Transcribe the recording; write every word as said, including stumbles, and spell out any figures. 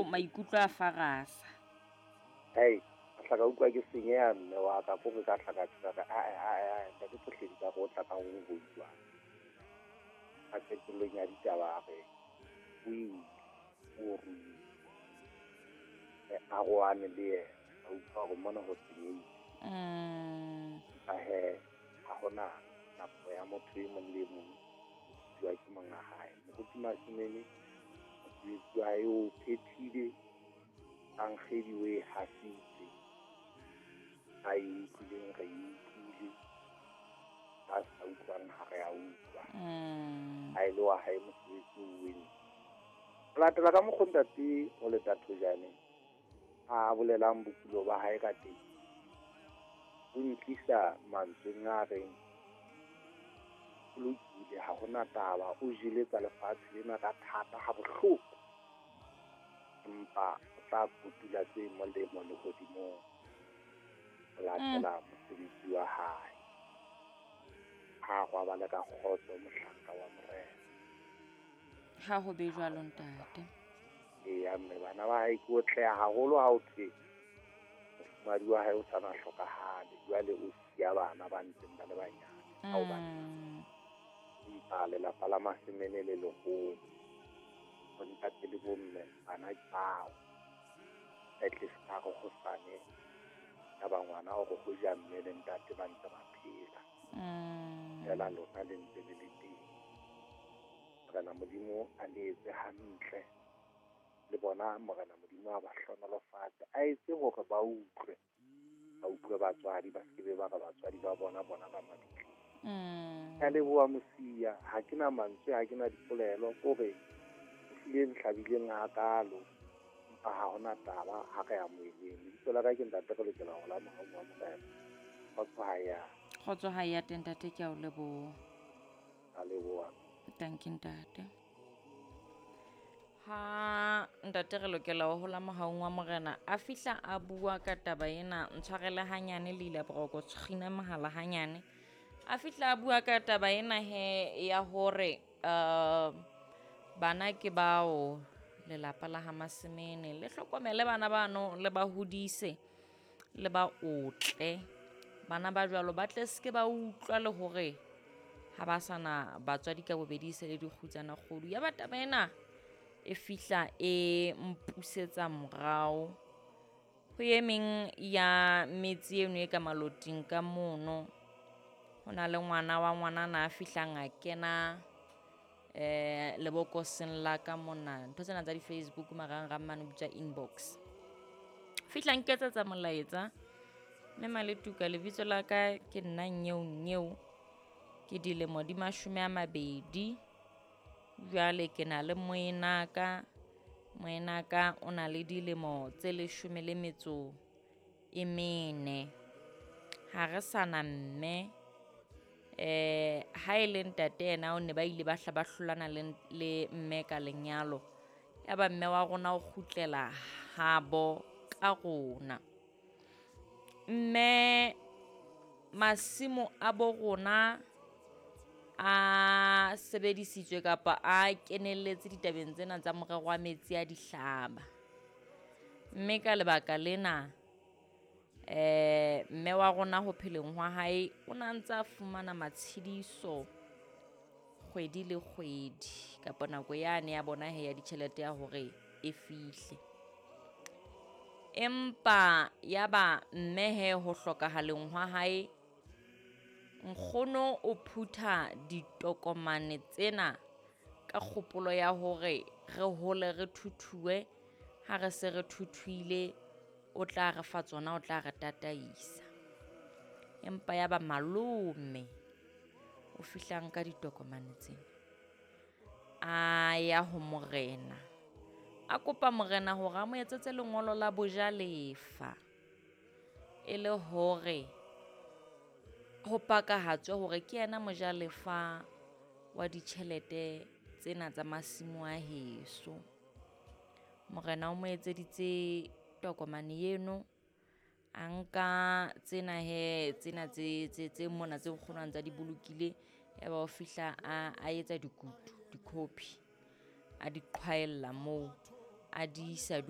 Maikutlo maikutlo a farasa. Hei, ka hla ka utlwa ke senyeha mme wa ka ko re ka hla ka tjho ka re ae ae ae ntate Tsohledi ka re o tla ka ho ho jwang. A qetellong ya ditaba a re o ile o ruile. Re arohane le yena. Ka utlwa hore mona ho senyehile. Mm. Empa hee ha hona nako ya motho e mong le e mong jwa ke monga hae. Moruti Masemene mosebetsi wa hae o phethile, Ankgedi o e hasitse. A e utlwileng re e utlwile, a sa utlwang ha re a utlwa. Mm. Ha e le wa hae mosebetsi o entse. Ho latela ka mokgo ntate ho leta thojane a bolelang bokulo ba hae ka teng, o ntlisa mantsweng a reng o lokile ha hona taba, o jele tsa lefatshe lena ka thata ha bohloko, empa o tla kotula tse molemo lehodimong ho latela mosebetsi wa hae. Ha robale ka kgotso mohlanka wa Morena. Ha ho be jwalo ntate. Eya mme bana ba hae ke otleha haholo ha o thwe mofumahadi wa hae o sa na hlokahale, jwale o siya bana ba ntseng ba le banyane. Hao banna. Mm. Empa lelapa la Masemene le leholo, bo ntate le bomme bana ke bao. At least ka re hosane ya ba ngwana hore ho ja mme le ntate ba ntse ba phela. Mm. Feela lona le ntse le le teng. Morena Modimo a le etse hantle. Le bona Morena Modimo a ba hlohonolofatse, a etse hore ba utlwe. Ba utlwe batswadi, ba se ke ba re batswadi ba bona bona ba mabitleng. Mm. Ke a leboha Mosia, ha ke na mantswe, ha ke na dipolelo, ko re ehlile nhlabileng hakalo, empa ha hona taba ha re amoheleng. Lebitso la ka ke ntate re lokela ho la mohau wa Morena. Kgotso ha ya. Kgotso ha ya teng ntate, ke a o leboha. A leboha. Thank you ntate. Ha ntate re lokela ho hola mohaung wa Morena a fihla a bua ka taba ena, ntshwarele hanyane le ile boroko tshwina mohala hanyane. A fihla a bua ka taba ena he ya hore uh, bana ke bao lelapa la ha Masemene le hlokomele bana bano, le ba hodise le ba otle. Bana ba jwalo ba tle se ke ba utlwa le hore ha ba sana batswadi ka bobedi se le dikgutsana kgodu. Ya ba taba ena e fihla e mpusetsa morao ho e meng ya metse eno e ka maloting ka mono. Ho na le ngwana wa ngwanana a fihlang a kena eh lebokoseng la ka mona, ntho tsena tsa di-Facebook marangrang mane bitswa inbox. Fihla nketsetsa molaetsa, mme Maletuka lebitso la ka ke nna Nyeo Nyeo, ke dilemo di mashome a mabedi. Jwale ke na le moenaka, moenaka o na le dilemo tse leshome le metso e mene. Ha re sana mme, eh ha e le ntate yena o ne ba ile ba hla ba hlolana le, le mme ka lenyalo. Ya ba mme wa rona o kgutlela habo ka rona. Mme masimo a bo rona a sebedisitswe kapa a kenelletse ditabeng tsena tsa morero wa metsi a dihlaba. Mme ka lebaka lena eh mme wa rona ho pheleng hwa hae o na ntse a fumana matshediso kgwedi le kgwedi kapa nako yane ya bona he ya ditjhelete ya hore e fihle. Empa ya ba mme he ho hlokahaleng hwa hae, nkgono o phutha ditokomane tsena ka kgopolo ya hore re hole re thuthuwe. Ha re se re thuthuile o tla re fa tsona, o tla re tataisa. Empa ya ba malome o fihlang ka ditokomane tsena, a ya ho morena, a kopa morena hore a mo etsetse lengolo la bojalefa, e le hore ho pakahatswe hore ke yena mojalefa wa ditjhelete tsena tsa masimo a heso. Morena o mo etseditse tokomane eno, a nka tsena he tsena tse tse tse mona tse nkgono a ntsa di bolokile, ya ba o fihla a a etsa dikutu, di-copy, a di qhwaella moo, a di isa